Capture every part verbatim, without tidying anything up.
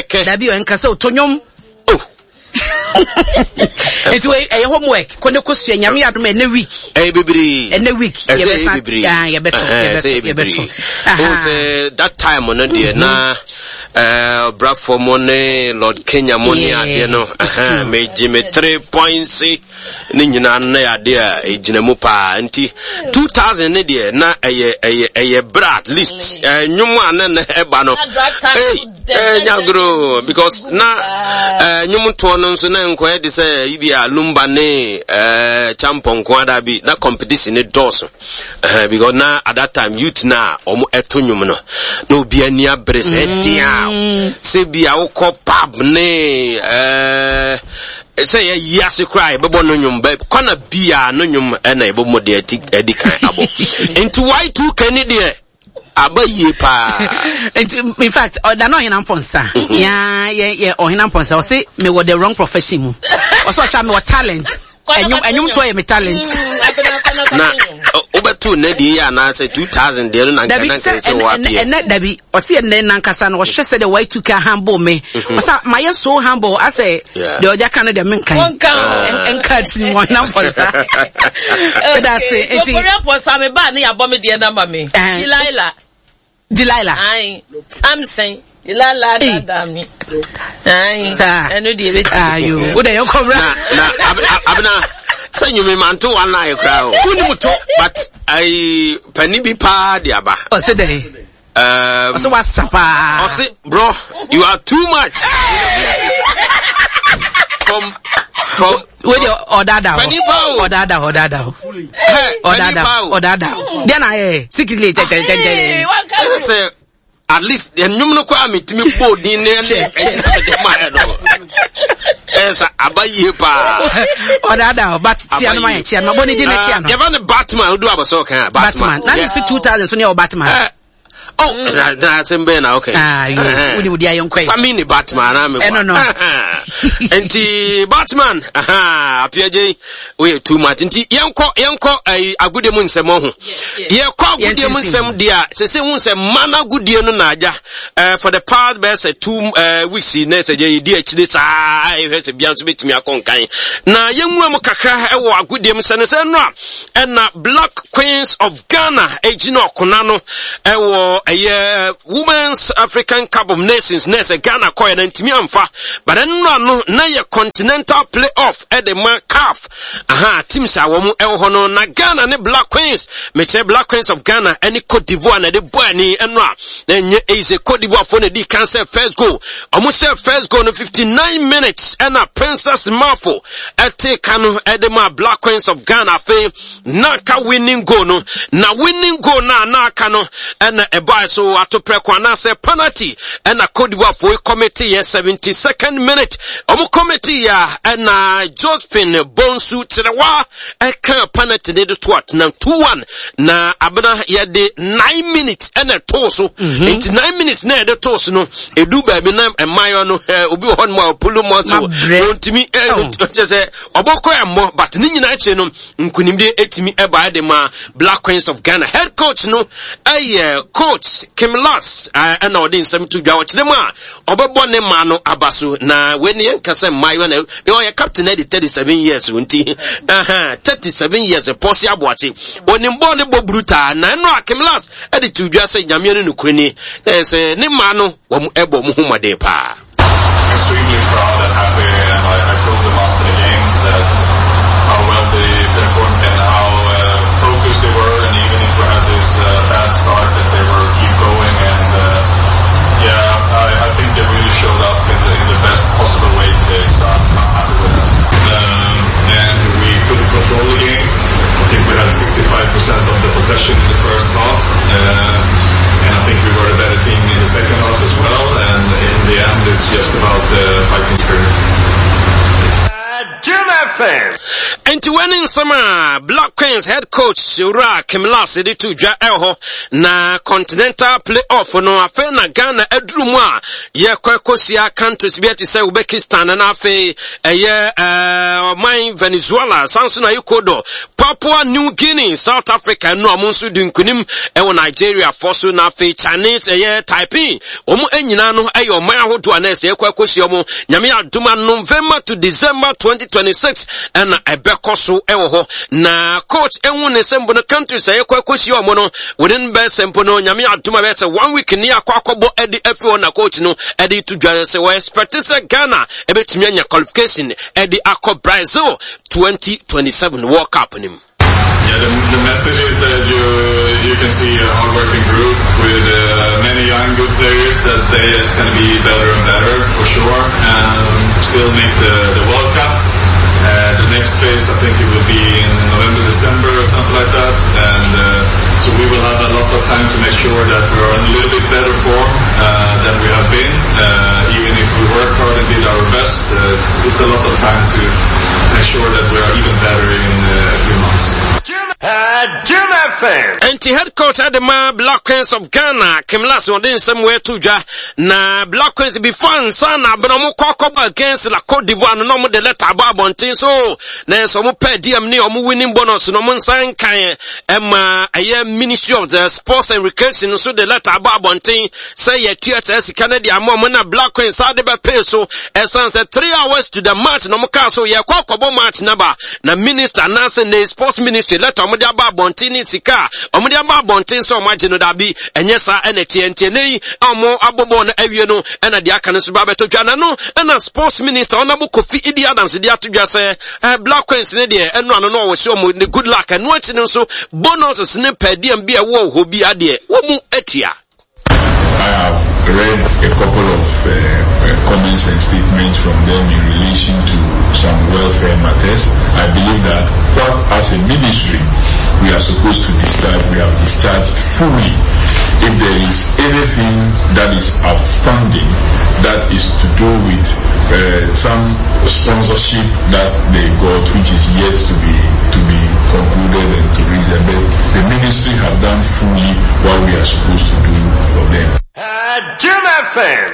Kɛkɛ. Dabi, ɔnka sɛ ɔtɔ nnwom. Oh. Nti wei ɛyɛ homework, kɔ ne kɔsua. Nyame yɛ adom, ɛnɛ week. Ɛyɛ bebree. Ɛnɛ week. Ɛsɛ ɛyɛ yɛbɛsa bebree. Ah, yɛbɛto. Ɛhɛn, ɛsɛ yɛbɛto ɛyɛ bebree. Yɛbɛto. Wohu sɛ that time no deɛ, na eh, ɔbrafoɔ mo ne Lord Kenya mo ne Yeah, adeɛ no, it's ɛhɛn, true. megye me three points ne nyinaa no, na yɛ adeɛ a ɛgyina mu paa. Nti two thousand ne deɛ, na ɛyɛ ɛyɛ ɛyɛ berɛ, at least eh, nnwom a na na ɛba no. Na drive time Hey, so dɛ- eh, dɛ- nyagoro because na eh, nnwom toɔ no nso na nkɔyɛ de sɛ ibi a Lumba ne eh, Champɔnko ada bi na competition ne dɔɔso. Eh, because na at that time youth na ɔmo ɛto nnwom no, na obi ani abere sɛ ɛden a sɛ bi a wokɔ pub ne eh, sɛ yɛyi ase koraa, yɛbɛbɔ no nnwom bɛ kɔna bia no nnwom, ɛna yɛbɛbɔ mu deɛ ɛti ɛdi kan abɔ. Nti Y two K ne deɛ aba yie paa. Nti in fact, ɔda na Ɔhena Mpɔnsa ya yɛ yɛ Ɔhena Mpɔnsa, ɔse mewɔ the wrong profession mu. Ɔsɛ ɔhyɛ a mewɔ talent, ɛnwom ɛnwom toɔ yɛ me talent. Na ɔ- wobɛto nnɛ deɛ yi anaasɛ two thousand deɛ no na nka Dabi, na sɛ nka sɛ ɛnɛ wɔapeɛ. Ɛnɛ dabi, ɔsi ɛnɛ nankasa no, ɔhwɛ sɛ de Y two K humble me, ɔsɛ mayɛ so humble asɛ. Yeah. Deɛ ɔgya ka no deɛ, menkan. Wɔnka o. Nka tiri mu Ɔhena Mpɔnsa, ɛda ase nti. Ofori Apɔnsa, me ba ne yabɔ me deɛ nama me. Eh. Delilah. Delilah. Ayi. Samson. Delilah Hey. dada mi. Ayi. Saa. Ɛno deɛ ebeti. Ayo, wo de yɛ kɔ bra. na na Ab- Ab- abena sɛ nnwome manto one line koraa o. Wonim to. But ayi pani bi paa de aba. Ɔsɛ dɛ Um, ɔsɛ wasa paa. Ɔse, "Bro, you are too much," from from Wo de, ɔdada hɔ. Pani pa o. Ɔdada hɔ, ɔdada hɔ. Hey, pani ɔdada pa o. Ɔdada hɔ deɛ na ayɛ secretly kyɛkyɛkyɛkyɛ. Ɛsɛ sɛ at least nnwom no koraa metumi bɔ din ne ɛne ɛyi na mede maɛ no, ɛyɛ sɛ aba yie paa. Ɔdada hɔ, but tia no ma yɛ, tia no ma bɔ ne din na tia no. Ah, yɛba ne Batman, wodu abɔsɛ ɔka a Batman na ne si two thousand so ne yɛ wɔ Batman. Eh, oh, na na asɛm bɛn na okay. Ah, yo, wode wode ayɛ nkɔe. Sami ne Batman na me. Ɛno no. Nti Batman, aha, apiagye woyɛ too much. Nti yɛnkɔ yɛnkɔ ayi agodie mu nsɛm ho. Yɛkɔ agodie mu Yɛntintim. nsɛm deɛ a, sese hu sɛ mma no agodie no na agya eh, for the past bɛyɛ sɛ two eh, weeks yi, na sɛ yɛdi akyire saa, ɛhwɛ sɛ bia nso bɛtumi akɔ nkan na yɛnwura mu kakra ɛwɔ agodie mu sɛ no sɛ no a, ɛna Black Queens of Ghana ɛgyina ɔkona no ɛwɔ ɛyɛ Women's African Cup of Nations, na ɛsɛ Ghana kɔɛ na ntumi amfa, but ɛno ano na yɛ continental play-off ɛde ma CAF, aha, teams a wɔn ɛwɔ hɔ no, na Ghana ne Black Queens, mekyerɛ Black Queens of Ghana ɛne Cote d'Ivoire na ɛde bɔ ani. Ɛno a na ɛnyɛ easy. Cote d'Ivoire fo na ɛdi kan sɛ first goal, ɔmo hyɛ first goal no fifty-nine minutes, ɛna Princess Mafo ɛte ka no ɛde ma Black Queens of Ghana. Afei na aka winning goal no, na winning goal na na aka no, ɛna ɛbaa so ato prɛko anaasɛ penalty, ɛna Cote d'Ivoire fo commit yɛ seventy-second minute. Ɔmo commit yɛ a, ɛna Josephine Bonsu Kyerɛwa ɛka penalty ne de to atena two one. Na abena yɛde nine minutes ɛna ɛtoo so. Nti nine minutes na yɛde too so no, edu baabi na mmaayewa no ɛɛ obi wɔ hɔ nom a ɔpull muscle. Mabrɛ. Ontumi ɛɛ Oh. kyerɛ sɛ ɔbɔkɔ ɛmmɔ, but ne nyinaa akyire no, nkunimdie etumi ɛbaa de ma Black Queens of Ghana. Head coach no ɛyɛ Coach Kim Lars, ɛna ɔde nsɛm to dwa, ɔkyerɛ mu a ɔbɛbɔ ne maa no aba so. Na wei ne yɛnka sɛ mmaayewa na ɔyɛ captain ɛde thirty seven years o, nti thirty seven years pɔsi aboakye onim bɔɔl ne bɔ brutal. Na ɛno a Kim Lars ɛde to dwa sɛ Nyameɛ no nokure ni na ɛyɛ sɛ ne maa no wɔn ɛbɔ ɔmo ho mmɔden paa. Extremely proud and happy, and I, I told them after the game that how well they performed and how uh, focused they were, and even if we had this uh, bad start, that they were keep going. And uh, yeah, I, I think they really showed up in the, in the best possible way today, so I'm, I'm happy with that. Um, and we couldn't control the game. I think we had sixty-five percent of the possession in the first half. Uh, and I think we were the better team in the second half as well. And in the end, it's just about the fighting spirit. Jim F M. Nti wani Nsɛm a Black Queens head coach Owura Kim Lars de to dwa ɛwɔ hɔ na continental play-off no, afei na Ghana aduru mu a yɛkɔ akɔhyia countries bi te sɛ Uzbekistan na afei ɛyɛ ɛɛ ɔman Venezuela, san so na Ecuador, Papua New Guinea, South Africa no a wɔn nso di nkunim ɛwɔ Nigeria fɔ so, na afei Chinese ɛyɛ Taipei. Wɔn nyinaa no ɛyɛ ɔman ahodoɔ a na ɛsɛ yɛkɔ akɔhyia wɔn. Nyame adom a, November to December twenty twenty-six ɛna ɛbɛkɔ so ɛwɔ hɔ. Na coach ehu ne sɛ mpo no, countries a yɛkɔ akɔhyia wɔn no within bɛyɛ sɛ mpo no, Nyame adom a, bɛyɛ sɛ one week ne akɔ akɔbɔ ɛde afi hɔ. Na coach no ɛde to dwa sɛ wɔ expect sɛ Ghana ɛbɛtumi anya qualification ɛde akɔ Brazil twenty twenty-seven World Cup nim. Yeah, the, the message is that you you can see a hardworking group with uh, many young good players, that they is going to be better and better for sure, and still make the, the World Cup. Uh, the next phase, I think it will be in November, December or something like that, and uh, so we will have a lot of time to make sure that we are in a little bit better form uh, than we have been. Uh, even if we work hard and did our best, uh, it's, it's a lot of time to make sure that we are even better in uh, a few months. Jim F M. Enti head coach ɛde ma Black Queens of Ghana, Kim Lars, wɔde nsɛm wɔato dwa. Na Black Queens, before nsa na abena ɔmo kɔ akɔbɔ against la Cote d'Ivoire no, na ɔmo de letter abɔ abɔnten so na nso ɔmo per diem ne ɔmo winning bonus na ɔmo nsa nkan. Ɛma ɛyɛ Ministry of the Sports and Recreation nso de letter abɔ abɔnten sɛ yɛtua saa sika no de ama ɔmo. Na Black Queens saa de bɛpee so ɛsan sɛ three hours to the match na ɔmo kaa so yɛkɔ akɔbɔ match naba na minister anaasɛ ne sports ministry letter ɔmo de aba abɔnten ne sika a ɔmo de aba abɔnten sɛ ɔmo agye no, dabi, ɛnyɛ saa. Ɛna teɛ nti ɛnɛ yi a ɔmo abɔ bɔɔl no awie no, ɛna deɛ aka no nso ba abɛtɔ dwa. Na no ɛna sports minister Honourable Kofi Idi Adams de ato dwa sɛ ɛɛ Black Queens ne deɛ, ɛno ano no ɔwɔ sɛ ɔmo ne good luck. Ɛno akyi no nso, bonuses ne per diem bi a ɛwɔ hɔ bi adeɛ wɔn mu atua. I have read a couple of uh, uh, comments and statements from them in relation to some welfare matters. I believe that what, as a ministry, we are supposed to discharge, we have discharged fully. If there is anything that is outstanding that is to do with uh, some sponsorship that they got, which is yet to be to be concluded and to reach them, but the ministry have done fully what we are supposed to do for them. Jim F M.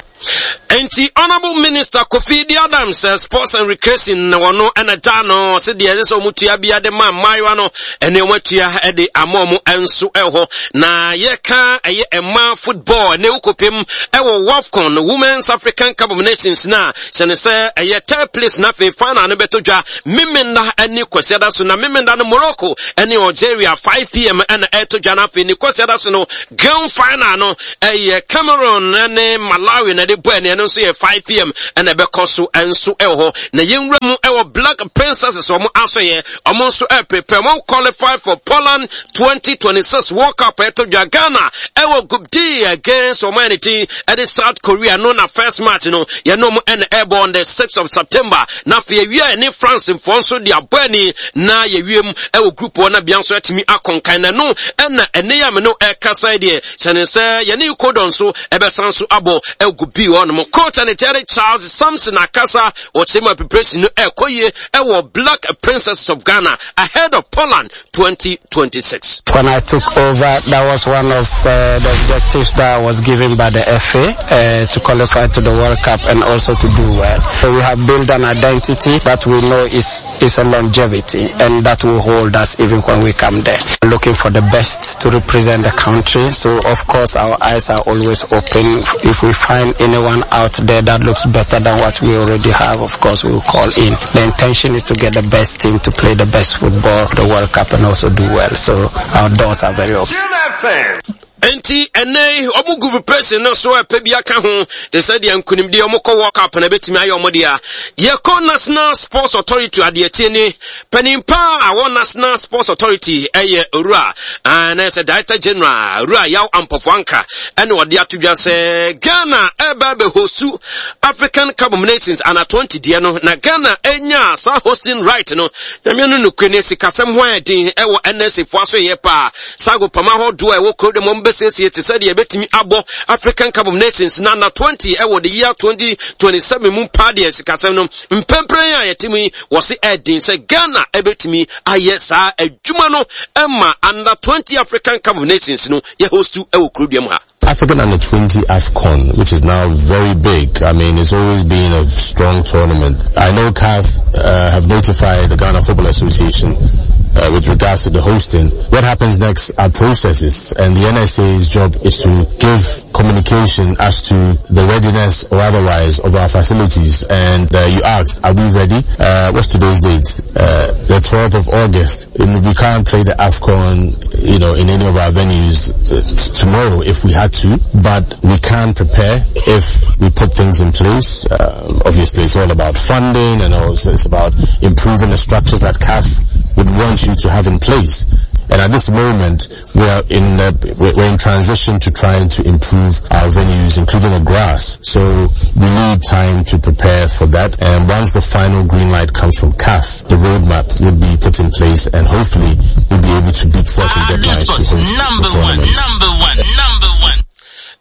Enti Honorable Minister Kofi Idi Adams, uh, Sports and Recreation, na wɔno ɛna da no sɛ deɛ ɛsɛ sɛ ɔmo tua bia de ma mmaayewa no, ɛne ɔmo atua ɛde ama ɔmo nso ɛwɔ. Na yɛka ɛyɛ mmaa football, ɛne wokɔpem ɛwɔ WAFCON, Women's African Cup of Nations, na sɛne sɛ ɛyɛ third place na afei final no bɛtɔ dwa Memenda ɛne Kwasiada so. Na Memenda no, Morocco ɛne Algeria, five p m ɛna ɛtɔ dwa. Na afei ne Kwasiada so no, grand final no ɛyɛ Cameroon ɛne Malawi na ɛde bɔ. Ɛne ɛno nso yɛ five p m ɛna ɛbɛkɔ so ɛnso ɛwɔ hɔ. Na yɛnwura mu ɛwɔ Black Princesses, ɔmo asɔyɛ, ɔmo nso ɛprepare, ɔmo qualify for Poland twenty twenty-six World Cup. Ɛtɔ dwa Ghana ɛwɔ Group D against ɔmo ɛne ti ɛde South Korea no. Na first match no, yɛne ɔmo ɛna ɛbɔ on the sixth of September. Na afei awia ɛne France mfoɔ nso de abɔ ani na yɛwie mu ɛwɔ group hɔ na bia nso ɛtumi akɔnkan. Na no ɛna ɛne yɛ ame no ɛkasa deɛ sɛne sɛ yɛne Ecuador nso ɛbɛsan so abɔ ɛwɔ Group B hɔ nom. Coach ɛne kyɛre Charles Sampson akasa, wɔkyerɛ mu preparation no ɛkɔ yie ɛwɔ Black Princesses of Ghana ahead of Poland twenty twenty-six. When I took over, that was one of uh, the objectives that was given by the F A uh, to qualify to the World Cup and also to do well. So we have built an identity that we know is, is a longevity and that will hold us even when we come there. Looking for the best to represent the country. So of course our eyes are always open. If we find anyone out there that looks better than what we already have, of course we will call in. The intention is to get the best team to play the best football, the World Cup, and also do well. So our doors are very open. Jim F M. Enti ɛnɛ yi ɔmo gu preparation no so, ɛpɛ bi aka ho te sɛ deɛ nkonimdi ɔmo kɔ World Cup na ebetumi ayɛ ɔmo deɛ. Yɛkɔ National Sports Authority adeɛ tie ni panimpa a wɔ National Sports Authority ɛyɛ Owura ɛna sɛ Director General Owura Yaw Ampɔfo Anka, ɛna ɔde ato dwa sɛ Ghana ɛba bɛ host African Cup of Nations under twenty deɛ no. Na Ghana enya saa hosting right no, Nyame no nokure ne sikasɛm ho ayɛ den ɛwɔ N S A foɔ aso yɛ paa sago pama ahodoɔ a ɛwɔ kuro de mo. asiesie te sɛ deɛ ɛbɛtumi abɔ African Cup of Nations na under twenty ɛwɔ the year twenty twenty seven mu paa deɛ, sikasɛm no mpɛmpɛn a yɛte mu yi, wɔse ɛden sɛ Ghana ɛbɛtumi ayɛ saa adwuma no ɛma under twenty African Cup of Nations no yɛ host ɛwɔ kurodua mu ha. African Under twenty AFCON, which is now very big. I mean, it's always been a strong tournament. I know C A F uh, have notified the Ghana Football Association uh, with regards to the hosting. What happens next are processes, and the N S A's job is to give communication as to the readiness or otherwise of our facilities. And uh, you asked, are we ready? Uh, what's today's date? Uh, the twelfth of August. And we can't play the AFCON, you know, in any of our venues uh, tomorrow if we had to, but we can prepare if we put things in place. Um, obviously, it's all about funding and also it's about improving the structures that C A F would want you to have in place. And at this moment, we are in uh, we're in transition to trying to improve our venues, including the grass. So we need time to prepare for that. And once the final green light comes from C A F, the roadmap will be put in place, and hopefully we'll be able to beat certain deadlines to host the Number one, tournament. Number one, number one.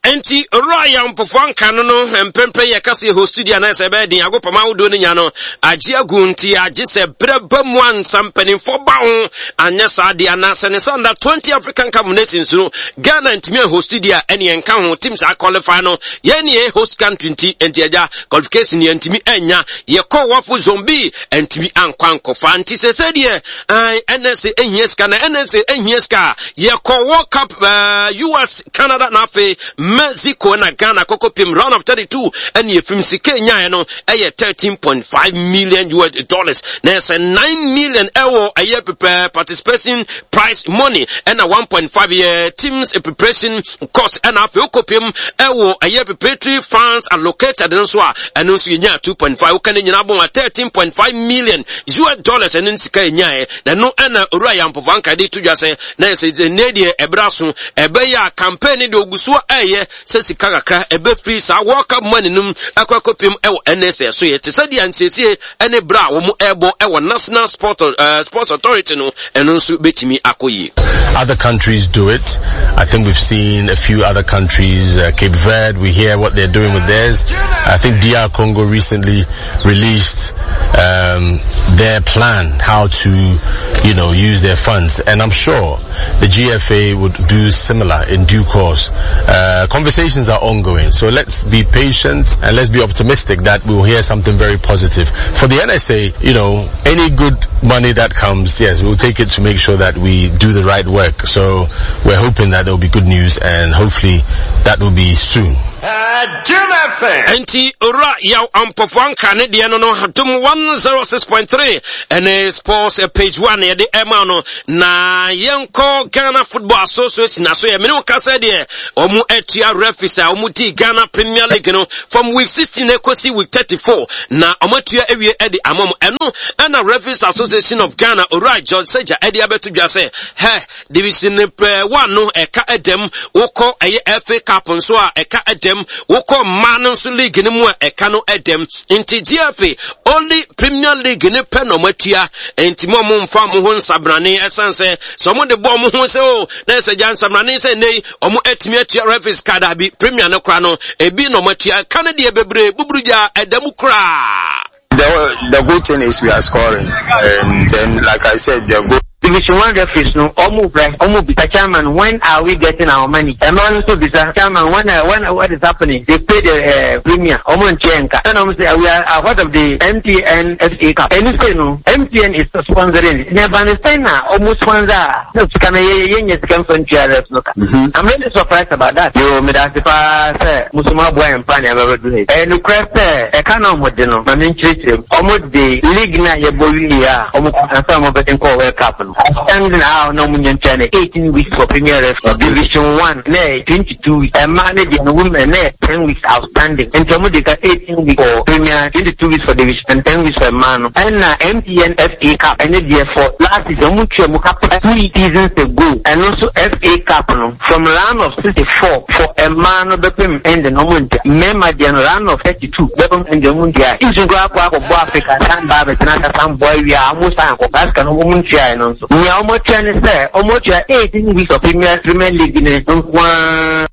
Enti owura Yampofo anka no no mpempɛ yɛ kasa yɛ host studio anaasɛ ɛbɛyɛ den agopama ahodoɔ no nya no agye agu, nti agye sɛ berɛ ba mu ansa mpanimfoɔ ba ho, anyɛ saa deɛ anaasɛ ne sɛ under twenty African Cup of Nations no Ghana ntumi a host studio a ɛne yɛnka ho team saa qualify no, yɛn ne yɛ host country, nti nti agya qualification yɛn ntumi anya. Yɛkɔ WAFU Zone B ntumi ankɔ ankɔfa, nti sɛ sɛ deɛ N S A ehia sika na N S A ehia sika. Yɛkɔ World Cup uh, U S, Canada na afei Mexico na Ghana kɔkɔ pim round of thirty-two, ɛne yɛfim sika nyaeɛ no ɛyɛ thirteen point five million U S dollars, na ɛsɛ nine million ɛwɔ ɛyɛ prepare participation prize money, ɛna one point five yɛ teams preparation cost, ɛna afei wokɔpem ɛwɔ ɛyɛ preparatory funds allocated nso a ɛno nso yɛnya two point five. Woka ne nyinaa bɔ a thirteen point five million U S dollars, ɛno sika yɛnyaeɛ, na ɛno ɛna owura Yampofo anka de to dwa sɛ na ɛsɛ nnɛ deɛ ɛberɛ so ɛbɛyɛ a campaign ne deɛ ogu so ɛyɛ sɛ sika kakra ɛbɛfiri saa World Cup money no akɔ akɔpem ɛwɔ N S A so yɛ te sɛ deɛ nsiesie ɛne berɛ a wɔn ɛrebɔ ɛwɔ National Sport, uh, Sports Authority no, ɛno nso bɛtumi akɔ yie. Other countries do it. I think we've seen a few other countries, uh, Cape Verde, we hear what they're doing with theirs. I think D R Congo recently released um, their plan how to, you know, use their funds. And I'm sure the G F A would do similar in due course. Uh, conversations are ongoing, so let's be patient and let's be optimistic that we'll hear something very positive. For the N S A, you know, any good money that comes, yes, we'll take it to make sure that we do the right work. So we're hoping that there will be good news and hopefully that will be soon. Enti owura Yaw Ampɔfo anka ne deɛ no no Adom one oh six point three ɛne Sports eh, page one yɛde ɛma no. Na yɛnkɔ Ghana Football Association aso yɛ mene wo kasa deɛ ɔmo atua referees a ɔmo di Ghana Premier League no from week sixteen ekosi week thirty-four, na ɔmo atua awie ɛde ama mo. Ɛno ɛna Referees Association of Ghana owura John Seja ɛde abɛto dwa sɛ hɛ division one no ɛka ɛdɛm, wokɔ ɛyɛ F A Cup nso a ɛka ɛdɛm, wokɔ mmaa no nso league no mu a ɛka no ɛdɛm, nti G F A only Premier League ne pɛ na ɔmo atua, nti mo a mo mfa mo ho nsabrane, ɛsan sɛ sɛ ɔmo de bɔ ɔmo ho sɛ o na ɛsɛ gya nsabrane sɛ nne yi ɔmo atumi atua referees card abi Premier no kora no ebi na ɔmo atua ka no deɛ bebree buburu gya ɛdɛm koraa. The, the good thing is we are scoring. And then, like I said, the goal Division one referees no, ɔmo brɛ, ɔmo bisa, "Chairman, when are we getting our money?" Ɛmaa no nso bisa, "Chairman, when uh, when what is happening?" They pay the uh, premier, ɔmo nkyɛn nka ɛna ɔmo say we are ahead of the M T N F A Cup. Ɛnu sɛ no M T N is sponsoring ne ba ne sɛn na ɔmo sponsor a na sika no yɛ yɛ nyɛ sika nfa ntua ref no ka. I'm really surprised about that. Yoo, meda ase paa sɛ musoma aboa yɛn mpa nea bɛbɛ do ha. Ɛyɛ nukurɛ sɛ ɛka na ɔmo de no ma mi nkyerɛkyerɛ mu, ɔmo de league na yɛbɔ wie a ɔmo ansa ɔmo bɛde nkɔ World Cup no, outstanding a na ɔmo nya ntua no eighteen weeks for Premier ref. Division one na yɛ twenty two weeks, ɛmaa ne deɛ no women na yɛ ten weeks outstanding, nti ɔmo de ka eighteen weeks for Premier, twenty two weeks for division and ten weeks for mmaa no. Ɛna M T N F A Cup ɛne deɛ for last season ɔmo tua mu cup two seasons ago. Ɛno nso F A Cup no from round of sixty four for mmaa no bɛpem end na ɔmo ntua, mmarima deɛ no round of thirty two bɛpem end ɔmo ntua. Nsu nkura akɔ akɔbɔ Africa san ba abɛtena aka san bɔ awia a ɔmo san akɔ basika no ɔmo ntua. Ɛno nso so. Nea ɔmo atua ne sɛ ɔmo atua eighteen weeks of Premier Premier League ne nkoaa.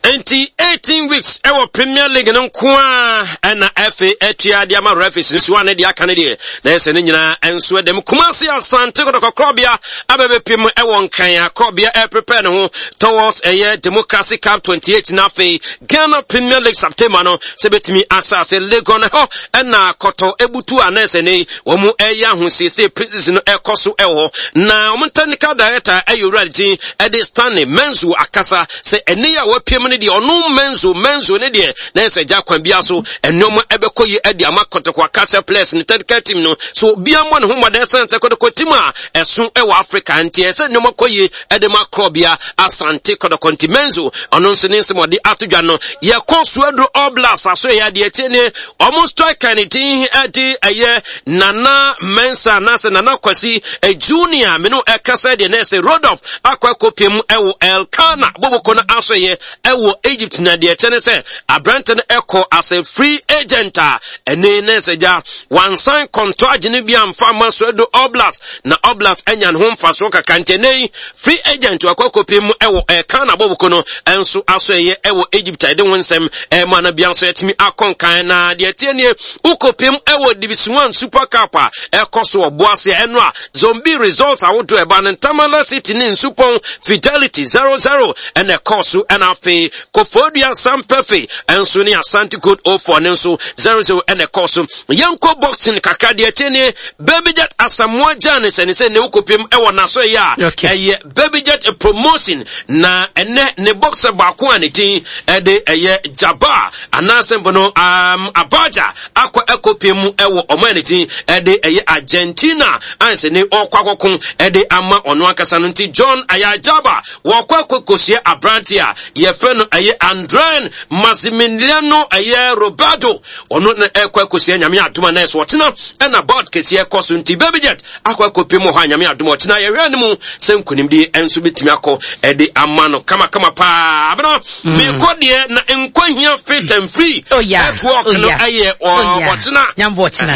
Enti eighteen weeks ɛwɔ Premier League no nko a ɛna F A atua de ama referees no so a ne deɛ aka no deɛ na ɛsɛ ne nyinaa nso ɛdɛm. Kumasi Asante Kotoko Korɔbea abɛbɛpem ɛwɔ Nkran a Korɔbea ɛprepare ne ho towards ɛyɛ Democracy Cup twenty-eight na afei Ghana Premier League September no sɛ bɛtumi asase Legon hɔ ɛna kɔtɔ ebutu a na ɛsɛ ne wɔn mu ɛyɛ ahosiesie pre-season no ɛkɔ so ɛwɔ hɔ na wɔn technical director ɛyɛ owura din ɛde Stanley Menzo akasa sɛ ɛne yɛ a wɔapiem no deɛ ɔno Menzo Menzo ne deɛ na ɛsɛ gya kwan bia so ɛnneɛma ɛbɛkɔ yi ɛde ama Kotoko akasa players ne technical team no so obiara mmɔ ne ho mmɔden sɛn sɛ Kotoko team a ɛso ɛwɔ Africa nti ɛsɛ nneɛma kɔ yie ɛde ma Korɔbea Asante Kotoko. Nti Menzo ɔno nso ne nsɛm ɔde ato dwa no. Yɛkɔ Suaduro All Blacks aso yɛ adeɛ tie ne ɔmo striker ne din ɛde ɛyɛ Nana Mensa anaasɛ Nana Kwasi Junior mene ɛkasa deɛ na ɛsɛ Rodolph akɔ akɔpiem ɛwɔ Elkana Boboko no aso yɛ ɛwɔ Egypt na deɛ kyɛ ne sɛ aberante no ɛkɔ as a free agent a ɛne ne sɛ gya wansan kɔntɔ agyene bi amfa ama Suaduro All Blacks na All Blacks anya ne ho mfasoɔ kakra nti ɛnɛ yi free agent wakɔ akɔpiem ɛwɔ Elkana Boboko no ɛnso aso yɛ ɛwɔ Egypt a yɛde ho nsɛm ɛma no bia nso yɛtumi akɔ nkan na deɛ tie nie wokɔpiem ɛwɔ Division one Super Cup a ɛkɔ so wɔ Boase ɛno a Zombie results ahodoɔ ɛba no Ntamala City ne Nsupɔn Fidelity zero zero ɛna ɛkɔ so ɛna afei Kofodua Sampɛfe ɛnso ne Asante Gold oh four ne nso zero zero ɛna ɛkɔ so. Yɛnkɔ boxing kakra deɛ tie nie Baby Jet Asamoah Gyan sɛ ne sɛ ne wokɔpiem ɛwɔ n'aso yɛ a ɛyɛ Baby Jet promotion na ɛnɛ ne boxer baako a ne din ɛde ɛyɛ Jaba anaasɛ mpo no um, Abaja akɔ ɛkɔpiem ɛwɔ ɔman ne din ɛde ɛyɛ Argentina ansɛ ne ɔkɔ akɔko ɛde ama ɔno ankasa no nti John Ayajaba wɔkɔ akɔkɔsia aberante a yɛfrɛ no ɛyɛ Andren Maximiliano ɛyɛ Roberto ɔno na ɛkɔ akɔsia Nyame adom a na ɛso ɔtena ɛna board kɛseɛ ɛkɔ so nti Baby Jet akɔ akɔpiem wɔ hɔ a Nyame adom ɔtena yɛhwɛ ne mu sɛ nkonimdie ɛnso bɛtumi akɔ ɛde ama no kamakama paa. Abena mekɔ deɛ na nkɔ hia fit and free Oh, yeah. network Oh, no yeah. ɛyɛ Oh, yeah. ɔtena Nyambo ɔtena.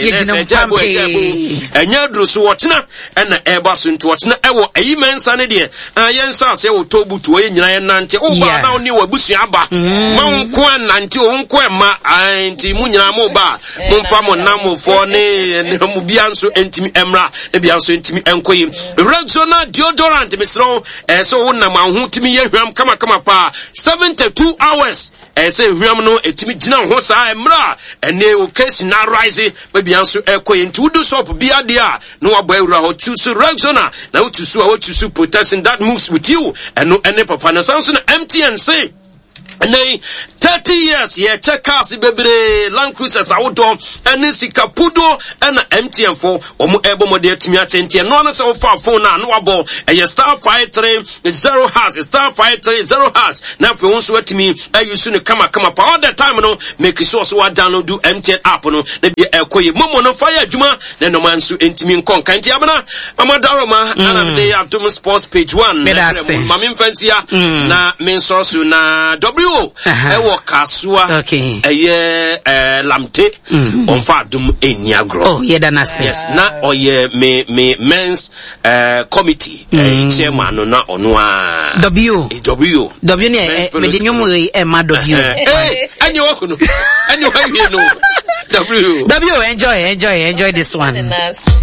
Yɛgyina ɛsɛ ɛgya bo, ɛgya bo. mpampee. Ɛnyɛ aduro so ɔtena ɛna ɛba so nti ɔtena ɛwɔ ɛyi mɛnsa ne deɛ yɛn nsa ase wɔ tobutu ɔyɛ nyinaa yɛn nante ɔba Yeah. na ɔne wɔ abusua aba ma wo nko anante o nko ɛma nti mu nyinaa mo ba mo nfa mo namfoɔ ne ne mo bia nso ntumi ɛmra ne bia nso ntumi ɛnkɔ yi. Rexona deodorant mesrɛ ɛsɛ wo nam aho tumi yɛ hwam kamakama paa seventy two hours ɛsɛ hwam no ɛtumi gyina ho saa mmerɛ a ɛne occasion na arise baabi nso ɛkɔ yi nti wodu shop bi adeɛ a na wabɔ awura hɔ choose Rexona na wotu so a wotu so protection that moves with you ɛno ɛne papa na san so na M T N se ɛnɛ thirty years yɛkyɛ cars bebree Land Cruisers ahodoɔ ɛne sika pudo ɛna M T N fo wɔn ɛbɔ mɔden atumi akyɛ nti ɛno ano sɛ wofa phone na ano wabɔ ɛyɛ star five three zero hash star five three zero hash na afei wɔn nso atumi ayi so no kamakama pa all the time no make sure so wa download do M T N app no na bi ɛkɔ yɛ momo no fa yɛ adwuma na nnɔma nso ntumi nkɔ nka nti abena mama daroma ana mede Adom Sports page one Meda ase. Maame mfansia na me nsɔrɔ so na W ɛwɔ Kasoa ɛyɛ ɛɛ Lamte ɔnfa Adom ɛnni agorɔ. Oh, yɛda n'ase. Yes, na ɔyɛ me me men's uh, committee mm. chairman no na ɔno a. W. W. W ne ɛ mede nnwom yi ɛma W. Ee ɛni wɔ kono ɛni wɔ wie no W. W enjoy enjoy enjoy this one.